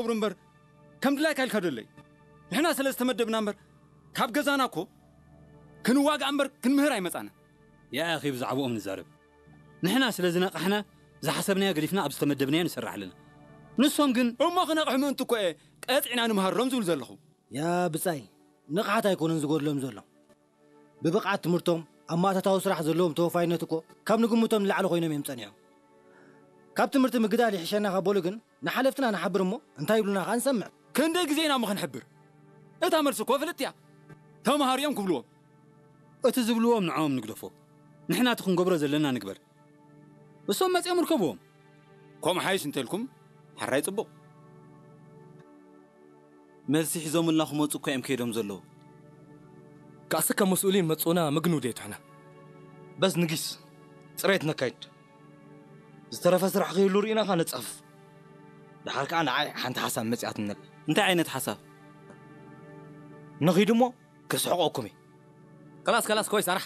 ክገብሩ እምበር ከም ድላይካ ኢልካ ደለይ። ንሕና ስለ ዝተመደብና እምበር ካብ ገዛና እኮ ክንዋጋእ እምበር ክንምህር ኣይመጻና። ያ ኣኺ ብዛዕባኦም ንዛረብ። ንሕና ስለ ዝነቓሕና ዝሓሰብናዮ ገዲፍና ኣብ ዝተመደብናዮ ንሰርሕ ኣለና። ንሶም ግን እሞ ክነቕሑ ምእንቲ እኮ እየ ቀጺዕና ንምሃሮም ዝብል ዘለኹ። ያ ብጻይ ንቕሓት ኣይኮነን ዝጎድሎም ዘሎ። ብብቕዓት ትምህርቶም ኣብ ማእታታዊ ስራሕ ዘለዎም ተወፋይነት እኮ ካብ ንግምቶም ንላዕሊ ኮይኖም እዮም ጸኒሖም። ካብ ትምህርቲ ምግዳል ይሕሸና ካብ በሉ ግን ንሓለፍትና ንሓብር እሞ እንታይ ይብሉና ከኣ ንሰምዕ። ክንደይ ግዜ ኢና እሞ ክንሕብር? እታ መልሲ እኮ ፍልጥ እያ። ተምሃር እዮም ክብልዎም። እቲ ዝብልዎም ንዕኦም ንግደፎ። ንሕና እቲ ክንገብሮ ዘለና ንግበር። እሶም መጺኦም ርከብዎም። ከምኡ ሓይሽ እንተልኩም ሓራይ ጽቡቕ። መልሲ ሒዞምልና ክመጹ እኮ እዮም ከይዶም ዘለዉ። ካእሰ ከም መስኡሊን መጹና ምግኑ ደይትሕና። በስ ንጊስ ጽሬት ነካይድ። ዝተረፈ ስራሕ ክህሉ ርኢና ኸኣ ነጻፍፍ። ደሓር ከኣ ንዓይ ሓንቲ ሓሳብ መጺኣትኒ ኣላ። እንታይ ዓይነት ሓሳብ? ንኺድ እሞ ክስሕቐኩም እየ። ከላስ ከላስ ኮይ ሳራሕ